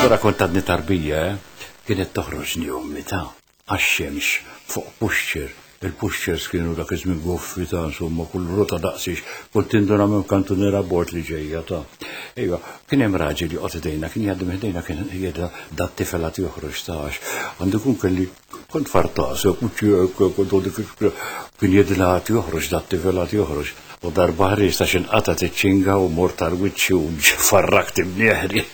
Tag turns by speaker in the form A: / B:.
A: Allura kont għadni tarbija, eh? Kienet toħroġni ommi ta' għax-xemx fuq pushchair. Il-pushchairs kienu dak iż-żmien goffi ta' insomma kull rota daqsiex kont tinduna minn kantuniera bord li ġejja ta'. Ejwa, kien hemm raġel joqgħod idejna, kien jgħaddi minn ħdejna kien jgħidha dat-tifel għad joħroġ ta' għax għandu jkun kelli kont fartas, kien jgħidilha għad joħroġ dat-tifel għad joħroġ. U darba ħriġt għax inqatgħet iċ-ċinga u mort għal wiċċi u farrakt imnieħri.